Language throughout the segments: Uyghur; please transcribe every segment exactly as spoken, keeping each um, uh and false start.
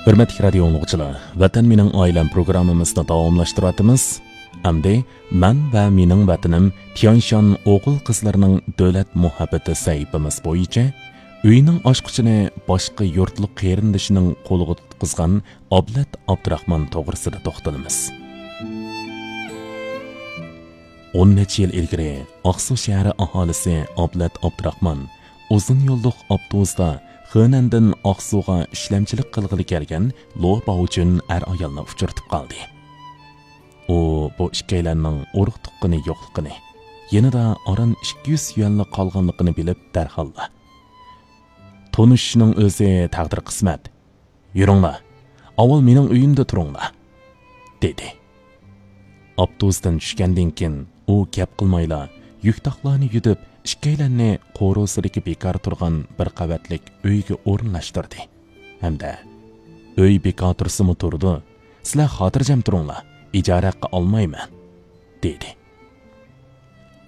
ھۆرمەتلىك رادىيو ئاڭلىغۇچىلار، ۋەتەن مېنىڭ ئائىلەم پروگراممىمىزنى داۋاملاشتۇرۇۋاتىمىز. ئەمدى مەن ۋە مېنىڭ ۋەتىنىم تيەنشان ئوغۇل-قىزلىرىنىڭ دۆلەت مۇھەببىتى سەھىپىمىز بويىچە ئۆينىڭ ئاچقۇچىنى باشقا يۇرتلۇق قېرىندىشىنىڭ قولىغا تۇتقۇزغان ئابلەت ئابدۇراخمان توغرىسىدا توختىلىمىز. ئون نەچچە يىل ئىلگىرى ئاقسۇ شەھىرى ئاھالىسى ئابلەت ئابدۇراخمان ئۇزۇن يوللۇق ئاپتوبۇستا خېنەندىن ئاقسۇغا ئىشلەمچىلىك قىلغىلى كەلگەن لو باۋجۈن ئەر-ئايالنى ئۇچرىتىپ قالدى. ئۇ بۇ ئىككىيلەننىڭ ئۇرۇق-تۇغقىنى يوقلۇقىنى، يېنىدا ئاران ئىككى يۈز يۈەنلا قالغانلىقىنى بىلىپ دەرھاللا، «تونۇشۇشنىڭ ئۆزى تەقدىر-قىسمەت. يۈرۈڭلار، ئاۋۋال مېنىڭ ئۆيۈمدە تۇرۇڭلار» دېدى. ئاپتوبۇستىن چۈشكەندىن كېيىن، ئۇ گەپ قىلمايلا، يۈك-تاقلارنى يۈدۈپ، ئىككىيلەننى قورۇسىدىكى بىكار تۇرغان بىر قەۋەتلىك ئۆيگە ئورۇنلاشتۇردى ھەمدە، «ئۆي بىكار تۇرسىمۇ تۇرىدۇ، سىلەر خاتىرجەم تۇرۇڭلار، ئىجارە ھەققى ئالمايمەن» دېدى.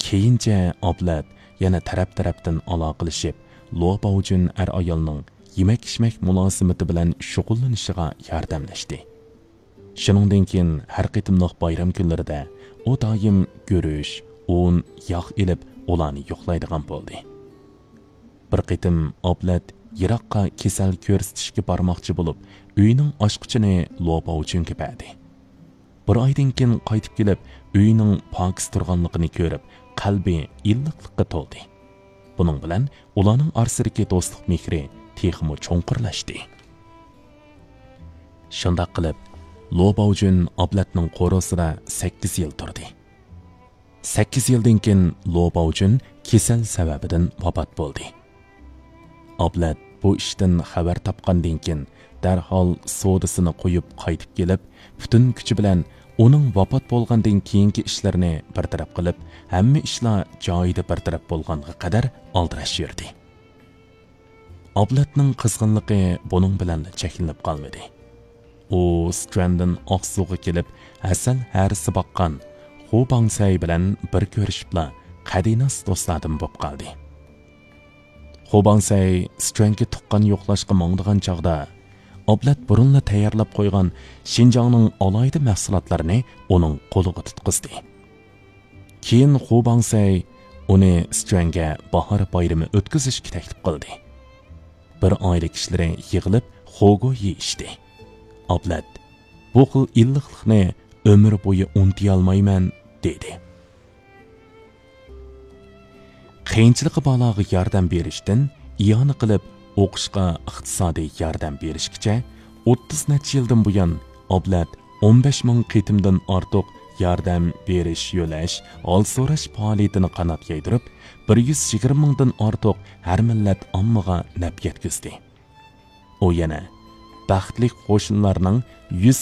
كېيىنچە ئابلەت يەنە تەرەپ-تەرەپتىن ئالاقىلىشىپ، لو باۋجۈن ئەر-ئايالنىڭ يېمەك-ئىچمەك مۇلازىمىتى بىلەن شۇغۇللىنىشىغا ياردەملەشتى. شۇنىڭدىن كېيىن ھەر قېتىملىق بايرام كۈنلىرىدە ئۇ دائىم گۈرۈچ، ئۇن، ياغ ئېلىپ، ئۇلارنى يوقلايدىغان بولدى. بىر قېتىم ئابلەت يىراققا كېسەل كۆرسىتىشكە بارماقچى بولۇپ، ئۆينىڭ ئاچقۇچىنى لو باۋجۈنگە بەردى. بىر ئايدىن كېيىن قايتىپ كېلىپ، ئۆينىڭ پاكىز تۇرغانلىقىنى كۆرۈپ، قەلبى ئىللىقلىققا تولدى. بۇنىڭ بىلەن ئۇلارنىڭ ئارىسىدىكى دوستلۇق مېھرى تېخىمۇ چوڭقۇرلاشتى. شۇنداق قىلىپ، لو باۋجۈن ئابلەتنىڭ قورۇسىدا سەككىز يىل تۇردى. سەككىز يىلدىن كېيىن لو باۋجۈن كېسەل سەۋەبىدىن ۋاپات بولدى. ئابلەت بۇ ئىشتىن خەۋەر تاپقاندىن كېيىن، دەرھال سودىسىنى قويۇپ قايتىپ كېلىپ، پۈتۈن كۈچى بىلەن ئۇنىڭ ۋاپات بولغاندىن كېيىنكى ئىشلىرىنى بىر تەرەپ قىلىپ، ھەممە ئىشلار جايىدا بىر تەرەپ بولغانغا قەدەر ئالدىراش يۈردى. ئابلەتنىڭ قىزغىنلىقى بۇنىڭ بىلەنلا چەكلىنىپ قالمىدى. ئۇ سىچۈەندىن ئاقسۇغا كېلىپ، ھەسەل ھەرىسى باققان خۇ باڭسەي بىلەن بىر كۆرۈشۈپلا، قەدىناس دوستلاردىن بولۇپ قالدى. خۇ باڭسەي سىچۈەنگە تۇغقان يوقلاشقا ماڭىدىغان چاغدا، ئابلەت بۇرۇنلا تەييارلاپ قويغان شىنجاڭنىڭ ئالاھىدە مەھسۇلاتلىرىنى ئۇنىڭ قولىغا تۇتقۇزدى. كېيىن خۇ باڭسەي ئۇنى سىچۈەنگە باھار بايرىمى ئۆتكۈزۈشكە تەكلىپ قىلدى. بىر ئائىلە كىشىلىرى يىغىلىپ خوگو يېيىشتى. ئابلەت، «بۇ خىل ئىللىقلىقنى ئۆمۈر بويى ئۇنتۇيالمايمەن» دېدى. قىيىنچىلىقى بارلارغا ياردەم بېرىشتىن ئىئانە قىلىپ ئوقۇشقا ئىقتىسادىي ياردەم بېرىشكىچە ئوتتۇز نەچچە يىلدىن بۇيان، ئابلەت ئون بەش مىڭ قېتىمدىن ئارتۇق ياردەم بېرىش، يۆلەش، ھال سوراش پائالىيىتىنى قانات يايدۇرۇپ، بىر يۈز يىگىرمە مىڭدىن ئارتۇق ھەر مىللەت ئاممىغا نەپ يەتكۈزدى. ئۇ يەنە بەختلىك قوشنىلارنىڭ يۈز